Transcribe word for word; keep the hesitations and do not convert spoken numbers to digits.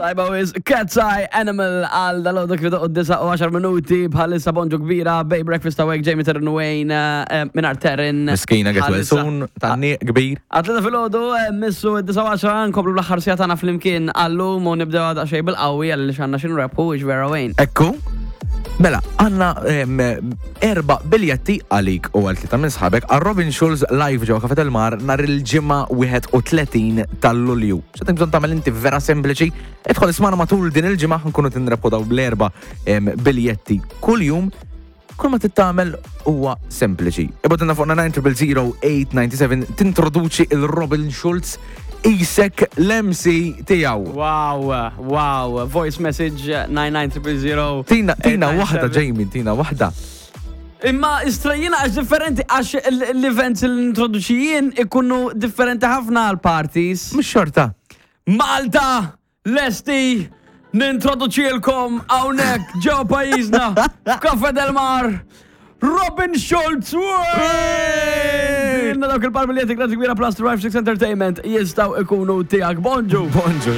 Tajba wis, Cat's Eye Animal għal dal-għodu kif doqqu disgħa u għaxar minuti bħalissa. Bonġu kbira, Bay Breakfast awek, Jamie Terren Wayne, eh, minar Terren. Miskina, get well soon, tanni kbir. Għat-tlieta filgħodu, missu d-disgħa u għaxra, nkomplu l-aħħar siegħa tagħna flimkien għallum u nibdew għada xej bil-qawwi għalli x'għandna x'nrebħu, vera, Wayne? Ekku, mela, għandna em, erba biljetti għalik u għal tlieta minn sħabek għal Robin Schulz live ġewwa Café Del Mar nhar il-Ġimgħa wieħed u tletin tal-Lulju. X'għandek bżonn tagħmel inti vera sempliċi, idħol ismana matul din il-ġimgħa, nkunu tinrebħu daw bl-erba em, biljetti kull jum. Kull ma tittamel huwa sempliċi. Ibgħatilna fuq nine zero zero eight nine seven tintroduċi il-Robin Schulz isek l-M C tiegħu. Wow, wow, voice message nine nine zero zero. Tina, tina waħda, Jamie, tina waħda. Imma istrajjina għax differenti, għax l-events li introduċijien ikunu differenti ħafna għal parties. Mux xorta. Malta, lesti, nintroduċilkom hawnhekk ġo pajjiżna, Cafe Del Mar, Robin Schulz! Inna dawk il-par biljetti, grazzi kbira Plus Drive six Entertainment, jistgħu ikunu tiegħek. Bonġu! Bonġu.